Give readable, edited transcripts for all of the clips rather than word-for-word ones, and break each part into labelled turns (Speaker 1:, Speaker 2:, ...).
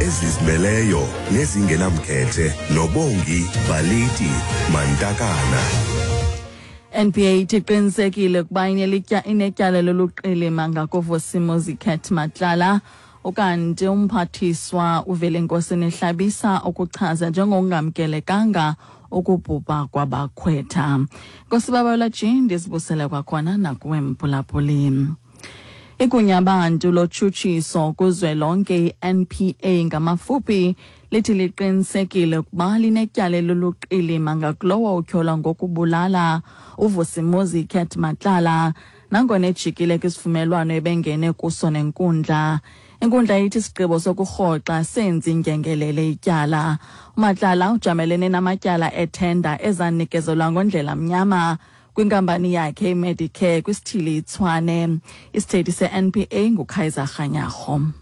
Speaker 1: Ezizimeleyo nezingenamkhethe noBongi Baliti Mantakana.
Speaker 2: NPA ithi iqinisekile ukuba inetyala loluqilima ngakuVusimuzi Cat Matlala. Ukanti umphathiswa uVelenkosini Hlabisa ukuchaza njengokungamkelekanga ukubhubha kwabakhwetha. Nkosi Babalwa G, ndizibusele kwakhona nakuwe mphulaphuli. Igunyabantu lotshutshiso kuzwelonke i-NPA ngamafuphi lithi liqinisekile ukuba linetyala eluluqilima ngakulowo utyholwa ngokubulala uVusimuzi Cat Matlala nangona ejikile kwisivumelwano ebengene kuso nenkundla. Inkundla ithi isigqibo sokurhoxa senzi ndyengelele ityala. UMatlala ujamelene namatyala ethenda ezanikezelwa ngondlela mnyama kwinkampani yakhe iMedicare kwisithili iTshwane. Isithethi se-NPA nguKaizer Kganyago.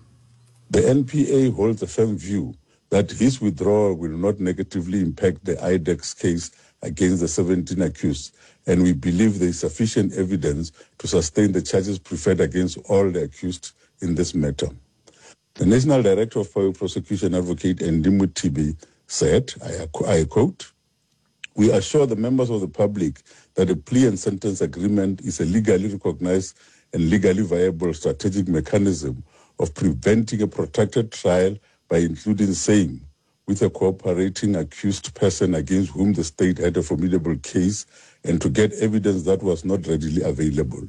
Speaker 3: The NPA holds a firm view that his withdrawal will not negatively impact the IDEX case against the 17 accused, and we believe there is sufficient evidence to sustain the charges preferred against all the accused in this matter. The National Director of Public Prosecution Advocate Andy Mothibi said, I quote, We assure the members of the public that a plea and sentence agreement is a legally recognized and legally viable strategic mechanism of preventing a protracted trial by including same with a cooperating accused person against whom the state had a formidable case and to get evidence that was not readily available.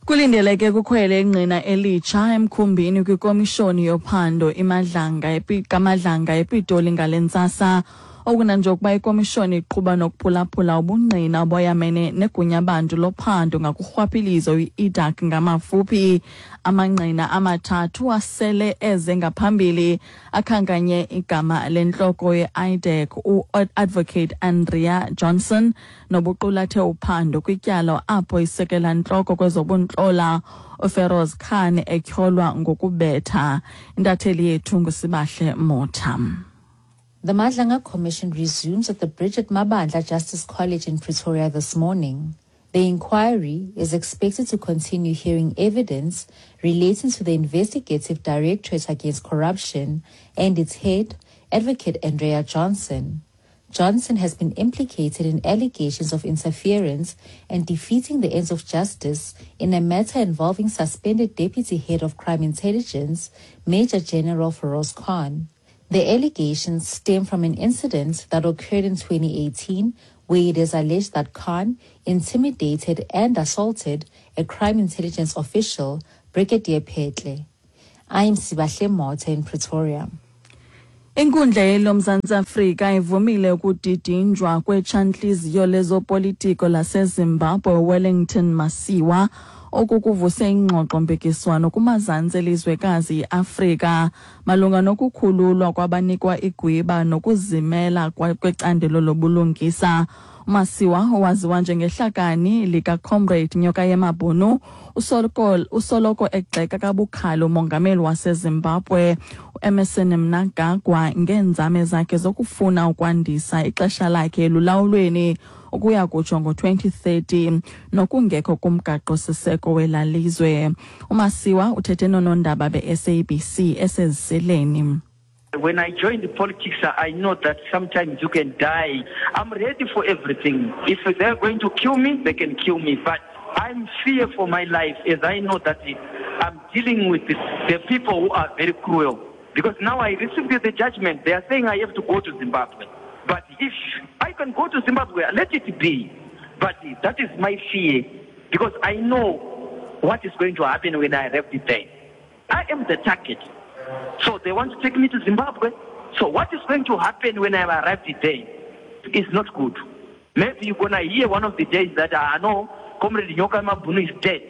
Speaker 2: Kulindeleke kukhwele ingqina elitsha emkhumbini kwikomishoni yophando iMadlanga kaMadlanga ePitoli ngale ntsasa. Okunanjengokuba ikomishoni iqhuba nokuphulaphula ubungqina oboyamene negunyabantu lophando ngakurhwaphilizo i-IDAC ngamafuphi. Amangqina amathathu asele eze ngaphambili akhankanye igama lentloko ye-IDAC u-Advocate Andrea Johnson nobuqulathe uphando kwityala apho isekela ntloko kwezobuntlola uFeroz Khan etyholwa ngokubetha. Intatheli yethu nguSibahle Motha.
Speaker 4: The Madlanga Commission resumes at the Bridget Mabandla Justice College in Pretoria this morning. The inquiry is expected to continue hearing evidence relating to the Investigative Directorate Against Corruption and its head, Advocate Andrea Johnson. Johnson has been implicated in allegations of interference and defeating the ends of justice in a matter involving suspended Deputy Head of Crime Intelligence, Major General Feroz Khan. The allegations stem from an incident that occurred in 2018 where it is alleged that Khan intimidated and assaulted a crime intelligence official, Brigadier Petle. I am Sibahle Motha in Pretoria.
Speaker 2: Inkundla yeloMzantsi Afrika ivumile ukudidinjwa kwetshantliziyo lezopolitiko laseZimbabwe Wellington Masiwa. Oku kuvuse ingxoxo-mpikiswano kumazantsi elizwekazi iAfrika malunga nokukhululwa kwabanikwa igwiba nokuzimela kwecandelo lobulungisa. UMasiwa, owaziwa njengehlakani likaComrade Nyoka Yemabhunu, usoloko egxeka kabukhali umongameli waseZimbabwe uEmmerson Mnangagwa ngeenzame zakhe zokufuna ukwandisa ixesha lakhe elulawulweni ukuya kutsho ngo-2030 nokungekho kumgaqo-siseko welalizwe. UMasiwa uthethe noonondaba be-SABC eseziseleni.
Speaker 5: When I joined politics, I know that sometimes you can die. I'm ready for everything. If they're going to kill me, they can kill me. But I'm fear for my life as I know that I'm dealing with the people who are very cruel. Because now I received the judgment. They are saying I have to go to Zimbabwe. But if I can go to Zimbabwe, let it be. But that is my fear. Because I know what is going to happen when I arrive there. I am the target. So they want to take me to Zimbabwe. So what is going to happen when I arrive there is not good. Maybe you're going to hear one of the days that I know Comrade Nyoka Mabunu is dead.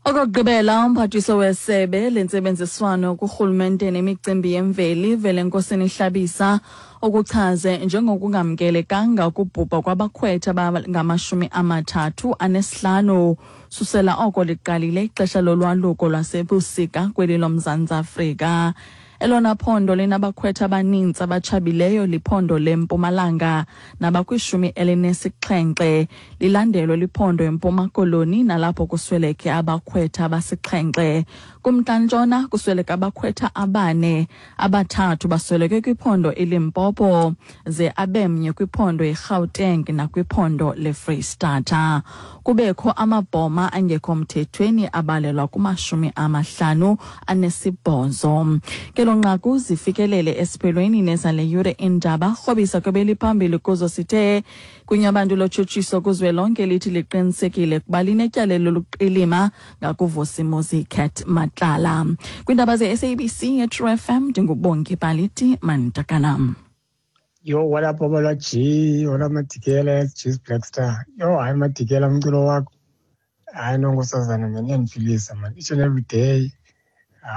Speaker 2: Okokugqibela, umphathiswa wesebe lentsebenziswano kurhulumente nemicimbi yemveli Velenkosini Hlabisa ukuchaze njengokungamkelekanga ukubhubha kwabakhwetha abangamashumi amathathu anesihlanu susela oko liqalile ixesha lolwaluko lwasebusika kweli loMzantsi Afrika. Elona phondo linabakhwetha abaninzi abatshabileyo liphondo leMpumalanga nabakwishumi elinesixhenxe, lilandelwe liphondo eMpuma Koloni nalapho kusweleke abakhwetha abasixhenxe. Kumntla-ntshona kusweleke abakhwetha abane, abathathu basweleke kwiphondo iLimpopo ze abemnye kwiphondo iGauteng nakwiphondo leFreyistata. Kubekho amabhoma angekho mthethweni abalelwa kuma-58. Kelo nqaku zifikelele esiphelweni nezale yure iindaba. Rhobisa kwebeliphambili kuzo sithe kunyabantu lotshutshiso kuzwelonke lithi liqinisekile kuba linetyala loluqilima ngakuVusimuzi Cat Matlala. Kwiindaba ze-SABC yeTrue FM, ndinguBongi Baliti Mantakana.
Speaker 6: Yo, what up, Babalwa G? What up, Madikela? G's Black Star. Yo, hayi Madikela, umculo wakho. Hayi nonkosazana, man, iyandiphilisa, man. Each and every day.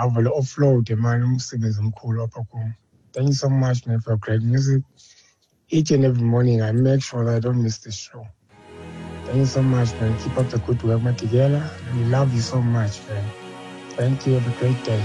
Speaker 6: Awuvele offload, man, umsebenzi omkhulu apha kum. Thank you so much, man, for your great music. Each and every morning, I make sure that I don't miss the show. Thank you so much, man. Keep up the good work, Madikela. We love you so much, man. Thank you. Have a great day.